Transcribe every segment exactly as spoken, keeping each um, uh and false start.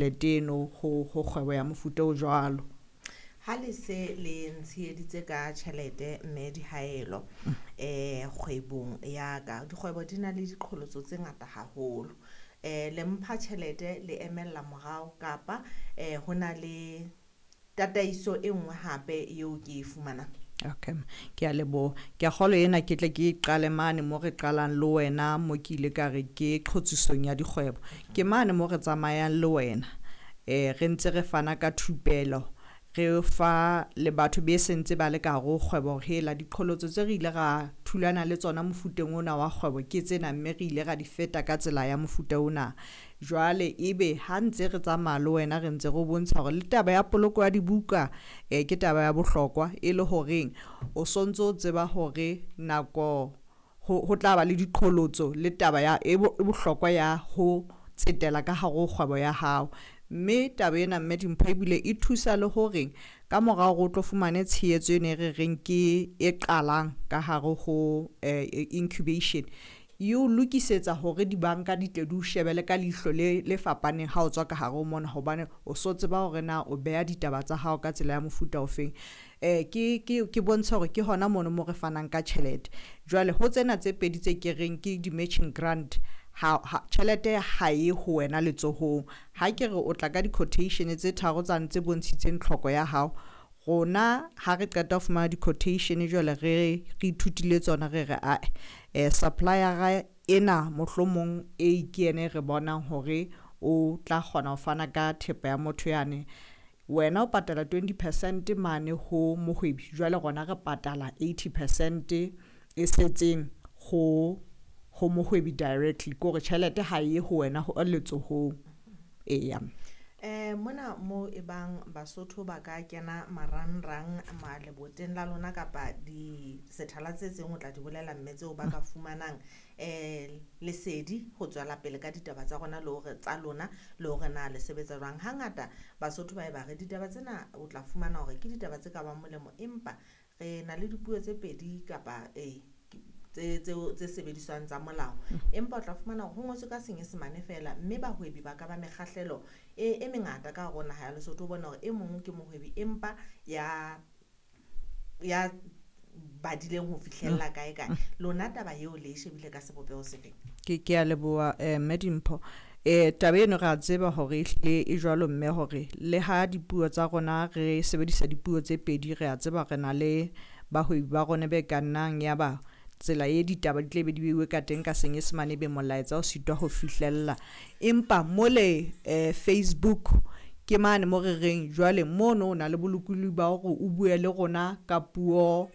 tjhelete eno ho ho kgwebo ya mofuta o jwalo. Ha le se le ntsheheditse ka tjhelete mme Dihaelo eh kgwebong ya ka, dikgwebo di na le diqholotso tse ngata haholo. Eh le mpha tjhelete le emella morao kapa eh ho na le tataiso e nngwe hape eo ke e fumanang? Okay, ke a leboha. Ke a kgolwa ena ke tle ke qale mane mo re qalang le wena mo ke ile ka re ke qhotsisong ya dikgwebo. Ke mane mo re tsamayang le wena eh re ntse re fana ka thupelo, re fa le batho be sentse ba le ka hare ho kgwebo hore hela diqholotso tse re ile ra thulana le tsona mofuteng ona wa kgwebo ke tsena, mme re ile ra di feta ka tsela ya mofuta ona. Jwale ebe ha ntse re tsamaya le wena re ntse re o bontsha hore le taba ya poloko ya dibuka eh ke taba ya bohlokwa, e le horeng o sontso o tseba hore nako ho ho tla ba le diqholotso le taba ya e bohlokwa ya ho tsetela ka hare ho kgwebo ya hao. Mme taba ena mme Dimpho ebile e thusa le hore ka mora hore o tlo fumane tshehetso ena e re reng ke e qalang ka hare ho incubation, e o lokisetsa hore dibanka di tle di o shebele ka leihlo le le fapaneng ha o tswa ka hare ho mona, hobane o so tseba hore na o beha ditaba tsa hao ka tsela ya mofuta ofeng. Eh ke ke ke bontsha hore ke hona mono mo re fanang ka tjhelete. Jwale ho tsena tse pedi tse ke reng ke di-matching grant, ha tjhelete ha e ho wena letsohong. Ha ke re o tla ka di-quotation tse tharo tsane tse bontshitseng tlhoko ya hao, rona ha re qeta ho fumana di-quotation jwale re re ithutile tsona, re re ae eh supplier-a ena mohlomong e ke yena e re bonang hore o tla kgona ho fana ka thepa ya motho yane. Wena o patala twenty percent mane ho mohwebi, jwale rona re patala eighty percent e setseng ho ho mohwebi directly, ke hore tjhelete ha e ho wena ho letsohong. Eya. Eh mona mo e bang Basotho ba ka kena marangrang maleboteng la lona kapa di sethala tse seng o tla di bolela mme tseo ba ka fumanang eh lesedi ho tswela pele ka ditaba tsa rona le hore tsa lona le hore na le sebetsa jwang. Hangata Basotho ba e ba re ditaba tsena o tla fumana hore ke ditaba tse ka bang molemo, empa re na le dipuo tse pedi kapa eh tse tseo tse sebediswang tsa molao, empa o tla fumana hore ho ngotswe ka Senyesemane feela, mme bahwebi ba ka ba mekgahlelo e e mengata ka hare ho naha ya Lesotho. O bona hore e mong ke mohwebi empa ya ya badileng ho fihlella kae kae. Lona taba eo le e shebile ka sebopeho sefeng? Ke ke a leboha eh mme Dimpho. Eh taba eno re a tseba hore ehlile e jwalo mme, hore le ha dipuo tsa rona re sebedisa dipuo tse pedi, re a tseba re na le bahwebi ba rona be ka nnang ya ba tsela e ditaba di tle be di beuwe ka teng ka Senyesemane ebe molaetsa o sitwa ho fihlella. Empa mole eh Facebook ke mane mo re reng jwale mono o na le bolokolohi ba hore o bue le rona ka puo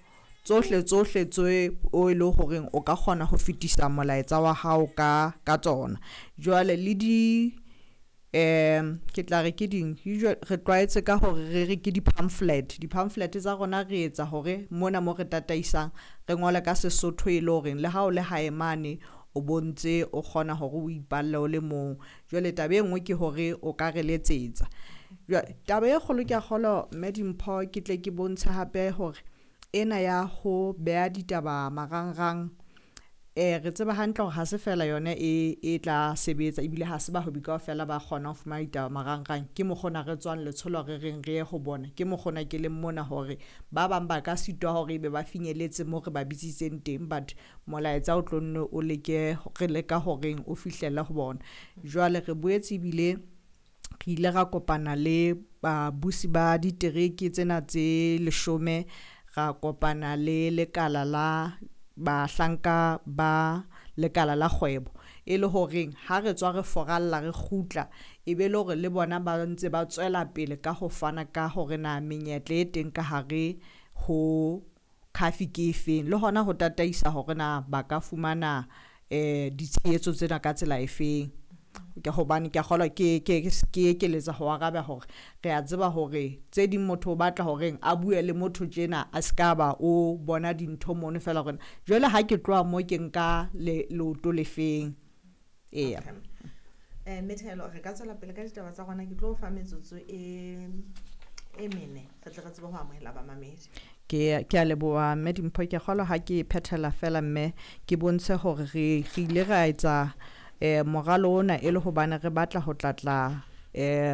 tsohle tsohle tse o e le horeng o ka kgona ho fetisa molaetsa wa hao ka ka tsona. Jwale le di um ke tla re ke ding re tlwaetse ka hore re re ke di-pamphlet. Di-pamphlet tsa rona re etsa hore mona mo re tataisang re ngole ka Sesotho e le horeng le ha o le hae mane o bontse o kgona hore o ipalle o le mong. Jwale taba e nngwe ke hore o ka re letsetsa. Jwale taba e kgolo ke a kgolwa mme Dimpho ke tle ke bontshe hape hore ena ya ho beha ditaba marangrang eh re tseba hantle hore ha se fela yona e e tla sebetsa, ebile ha se bahwebi kaofela ba kgona ho fumana ditaba marangrang. Ke mokgona re tswang letsholo re reng re ye ho bona, ke mokgona ke leng mona hore ba bang ba ka sitwa hore ebe ba finyelletse mo re ba bitsitseng teng, but molaetsa o tlo nne o leke re leka horeng o fihlelle ho bona. Jwale re boetse ebile re ile ra kopana le babusi ba ditereke tsena tse leshome, ra kopana le lekala la bahlanka ba lekala la kgwebo, e le horeng ha re tswa re foralla re kgutla e be le hore le bona ba ntse ba tswela pele ka ho fana ka hore na menyetla e teng ka hare ho C A F I ke efeng, le hona ho tataisa hore na ba ka fumana eh ditshehetso tsena ka tsela efeng. Ke hobane ke a kgolwa ke ke ke ekeletsa ho araba hore re a tseba hore tse ding motho o batla horeng a bue le motho tjena a ska ba o bona dintho mono fela hore jwale ha ke tloha mo ke nka le leoto lefeng. Eya. Eh Methelo re ka tswela pele ka ditaba tsa rona, ke tlo fa metsotso e e mene re tle re tsebe ho amohela bamamedi. Ke ke a leboha mme Dimpho, ke kgolwa ha ke phethela fela mme ke bontshe hore re re ile ra etsa eh moralo ona e le hobane re batla ho tlatla Eh